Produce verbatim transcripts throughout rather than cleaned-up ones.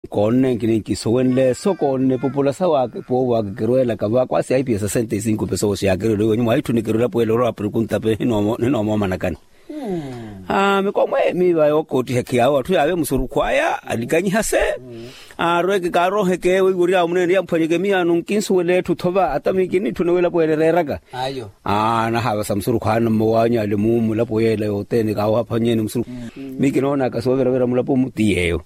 Koonne nkini nkisuwenle so koonne epupula sa waake poovo waake kirweelaka vakwasi aipiya sasenta e sinku pesowo siyaakerwele wiiwa nyuma aitthuni kirwela pweela orowa aprikunta pe. Ninoomoomanakani. Aa mikomwe miiva yookoottihekhi yaawo atthu yaave musurukhu aya alikanyihase. Aarweke kaarooheke weiwo oryaawo muneene yamphwanyeke miyaano nkinsuwela etthu thova ata miikinitthuna wila pweela ereeraka. Aa nahaavasa musurukhu aana mmawaany'ale mu mulapo yeela yothene kaawaphwanyeene musurukhu. Miikinoonaka sooviravira mulapo mu ti yeeyo.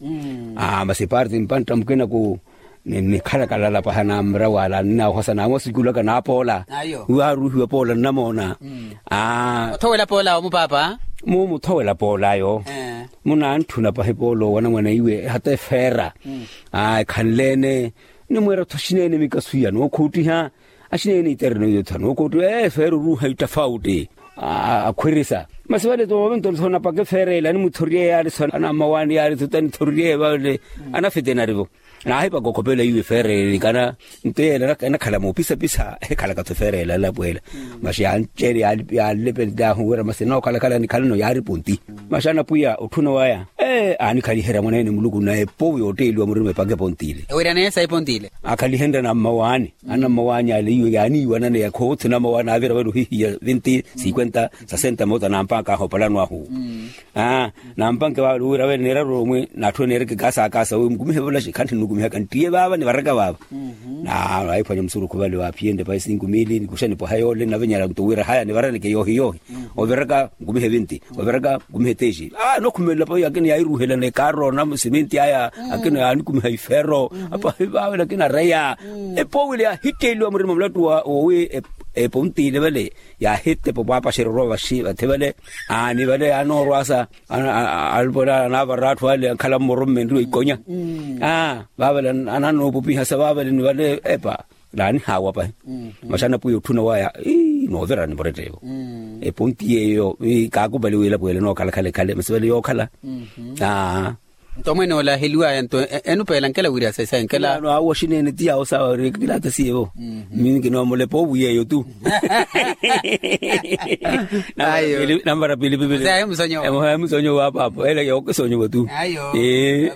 Aa masi parti mpantta mukinaku nikhalakala lapaha na mura wala ninahosa namwasikulaka napoola. Wiwo aaruuhiwa poola nnamoona. Aa othowela poola omu paapa. Mu muthowela poola ayo munantthuna pahi poola owanamwana iwe hata efeera. Aa ekhanle-ene nimweera-tho axineene mikasu iya nookhuuttiha. Axineene itereno iyo tha nookhuuttiha efeera oruuha ittafautti. Akhwirisa masi vale toovintoni so napaka efeera ele animuthoriye yaari so anammawaani yaari so tanithoriye vale. Anafetenari-vo naahipaka okhopela iwe efeera ele kana nto yeela enakhala moopisapisa ehikhalaka-tho efeera ele alapweela. Masi yanceele yaanlepentaahu wira masi enookhalakhala nikhalano yaari ponti. Masi anapwiya otthuna waya ee aanikhaliherya mwaneene muluku na epowu yootteeliwa murima epaka eponti ile. Ewiryaneye sa eponti ile. Akhalihenrya nammawaani anammawaani ale iwe yaaniiwananeya khoothina ammawaani aavira vale ohihiya vinti sinkwenta sasenta moota nampaka ahu opalano ahu. Aa nampanke vale owira vale neeraru omwi n'atthu eneereke kaasa kaasa nkumihe volaxi khanthi nnukumihaka nttiye vaava nivaraka vaava. Naahiphwanya musurukhu vale waaphiyenrye pahi sinku miili nikuxa nipwaha yoole navenyala nto wira haya nivaraneke yoohi yoohi. Oviraka nkumihe vinti oviraka nkumihe teishi. Aa nookhumelela pahi akina yairuuhelana ekaaro na siminti aya akina yaanikumiha ifeero. Apahi vaavela akina areya epoowile yaahitteeliwa murima mulattu woowi eponti ile vale. Yaahittepa opwaapaxerya orwa vaxi vathi vale. Aani vale yaanoorwasa alupale anaavara atthu ale ankhala mmoro mmenriwa ikonya. Aa vaavale ananoopupiha sa vaavale ni vale epa naanihaawa pahi. Masi anapwiya otthuna waya ii noovira nimuretteevo. Eponti yeeyo kaakupali wila pweela enookhalakhala ekhale masi vale yookhala. Aa nto mwene ola aheliwaya nto enupeela nkela wirya sesa enkela. Awo axineene ti yaawo sawa ori kilaata siyevo. Mii nkinoomola epoovu yeeyo tu. Ayo. Nambara pili pipili. Emusonyo wa paapo ele yookisonyiwa tu. Ayo.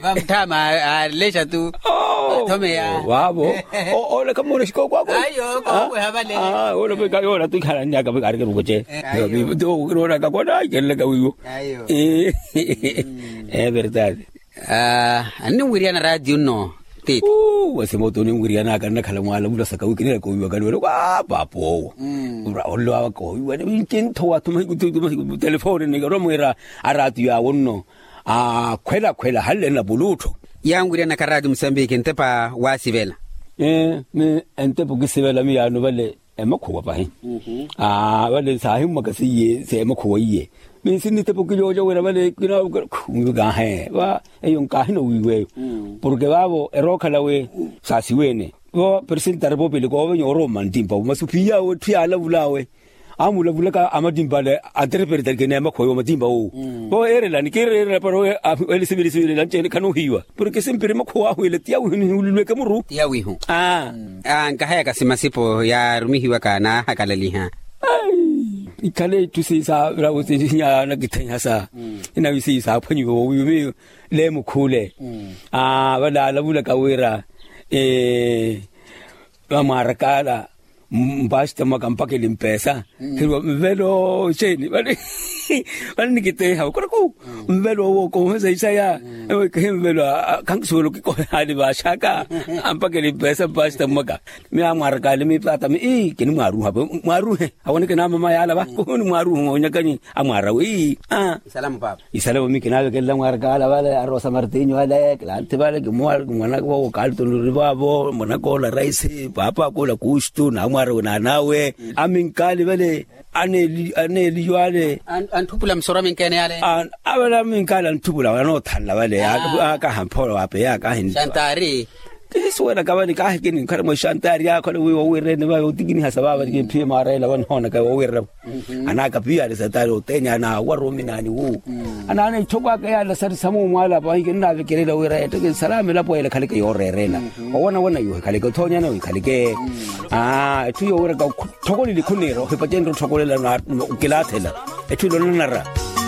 Vamutthama alexa tu. Athomeya vaavo. Ola khamuona xikooko ako. Ayo kookweha vale. Ola peka yola tu ikhalannyaka peka arikirukuce. Ayo. Ti okiroonaka kona ikelelaka wiiwo. Ayo. Ee verdade. Aninwiriyana raatiyo nno. Titi. Wasi moto oninwiriyanaka nnakhala mwaalavula saka wiikinela koowiwaka niwela kwa paapa owo. Olowa koowiwa ni ncinttho wathuma hikuthuma hikuthuma telefooni ni oromweera araatiyo awo nno. Akhwelakhwela hanle nnapuluttho. Yanwiriyanaka raatiyo musambiki ntepa waasivela. Ee ni entepa okisivela miyaano vale. Emakhuwa pahi. Vale saahimmwaka seiye seemakhuwa iye. Minsi nnitepa okilyoolya wira vale kinaavukela khu nvikaahe va. Eyo nkaahi nowiiwa eyo. Porke vaavo erookhala we saasiweene vo presentari popele koovenya orooma nttimpa vo masi ophiya awe etthu yaalavul'awe. Amulavulaka amattimpa ale antereperetarikene emakhuwa yo omattimpa wowo. Vo eerelani kiireerela para owe ele sivili sivili nanci-ene khanoohiiwa. Porke simpiri makhuwa ahu ele ti yawihu nihuululweke muru. Ti yawihu. Aa. Nkahayaka simasipo yaarumihiwaka naahakalaliha. Ikhale itthu siisaavira vo sinyaya nakithenya sa inawi siisaaphwanyiwa wowiyo miyo. Leemukhuule. Vale aalavulaka wira vamwaarakaala mpaxita mwaka mpakeli mpeesa. Khiriwa nvelo xeeni vale nikiteeha okora ku nvelo owo koohesa isaya. Ewo ikehe nvelo khankisuwela okikohehaani vaaxaka. Ampakeli mpeesa mpaxita mwaka mi amwaarakaale mi paata mi ii kinimwaaruha mwaruhe. Awoneke naamama yaala va kuhuni mwaaruhu onyakanyi amwaarawe ii. Isalamu mi kinaavekelela mwaarakaala vale arosa martinyo ale kilanthi vale kimwanaka vowo kalitonuri vaavo mwanaka ola raisi paapa akula kuuxtu naamwaarawe naanaawe. Aminkaali vale aneeliyo ale. Antthupula musoro aminkeene yale. Avale aminkaali antthupula vale anoothanla vale akaha mphoolo waapeya akahi. Xantaari. Kisuwelaka vale kaahi kininkhale mwa ixantaari yaakhole wiiwa owiirene vale otikinihasa vaavale kimphiye maareela vanihoonaka owiirene. Anaakapiyaale satari oteenya anaawara ominaani wu. Anaana itthoko aka yaala sari samuumwaala pahi kinnaavekelela wira etteke nsalaama elapo ele ekhaleke yooreerela. Owanawanayo ohikhaleke othoonyana ohikhaleke. Etthu yowiraka othokoleli khuniira ohipacenre otthokolela okilaathela. Etthu ilo nanara.